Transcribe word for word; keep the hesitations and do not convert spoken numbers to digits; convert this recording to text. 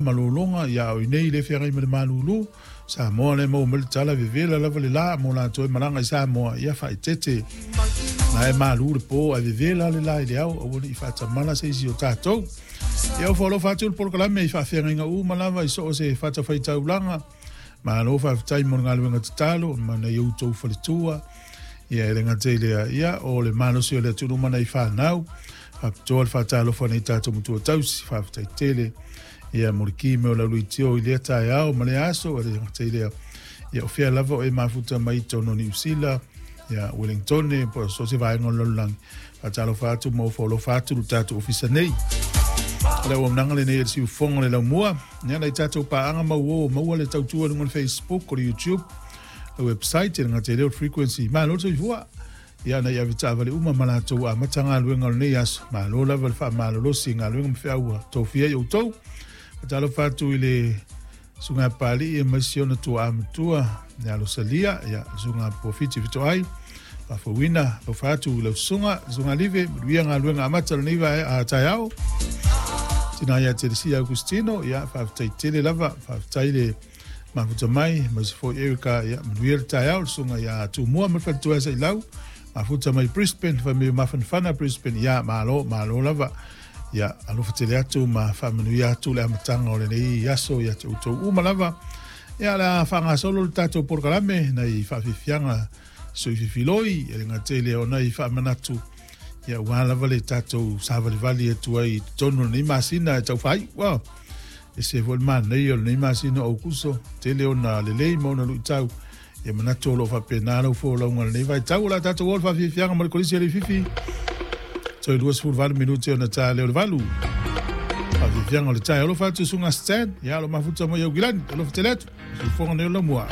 Malologa ia o inei le feagai ma le malulu Samoa le maua mai le tala vevela lava le la mo latou e malaga i Samoa ia faaeteete na e malu le po ae vevela le la i le ao aua ne i faatamala se isi o tatou. Ia ua alofa atu le polokalame i faafeagaiga uma lava i so o se fatafaitaulaga. Malo faafetai mo le galuega tatalo ma nai outou faletua. Ia e le gata i lea, ia o le malosi o le atunuu ma nai fanau. Faapitoa le faatalofa nei tatou matua tausi, faafetai tele. Ia mo le ki me o lau leitio i lea taeao ma lea aso, e le gata i lea. Ia o fea lava o e mafuta mai totonu o Niu Sila, ia Wellingtone, po o so o se vaega o le lalolagi. Faatalofa atu ma ofo alofa atu le tatou ofisa nei. O le auaunaga lenei a le siufofoga o le laumua. Ia nai tatou paaga mauo maua le tautua i luga o le Facebook, o le YouTube, le website, e le gata i lea o le frequency. Malo le soifua. Ia nai avetaavale uma ma latou amata galuega o lenei aso. Malo lava le faamalolosi i galuega ma feau ua tofia i outou. Faatalofa atu i le susuga Papalii aemaise ona tuaa matua ia Losalia, ia susuga Pofiti Fitoai, faafouina alofa atu i lau susuga, susuga Live, manuia galuega amata o lenei vae taeao. Tina ia Telesia Augustino, ia faafetai tele lava, faafetai le mafuta mai, aemaise foi Erika, ia manuia le taeao, le susuga ia Tumua ma le faletua Sailau, mafuta mai Brisbane, fai mai mafanafana Brisbane, ia malo, malo lava. Ia alofa tele atu ma faamanuia atu le amataga o lenei aso ia te outou uma lava. Ia o le a faagasolo le tatou polokalame nai faafiafiaga soififiloi e le gata i lea o nai faamanatu ia aua lava le tatou savalivali atu ai i totonu o lenei masina e taufaaiu. Ua ese foi le manaia o lenei masina o Aukuso, tele ona lelei ma ona luitau. Ia manatu o lo o faapena lau folauga o lenei vaitau. O le a tatou o le faafiafiaga ma le Kolisi a Leififi. Toe luasefulu valu minute ona ta lea o le valu. Faafiafiaga o le taeao. Alofa atu susuga Stan, ia o lo o mafuta mai Aukilani. Alofa tele atu. Siufofoga nei o Laumua.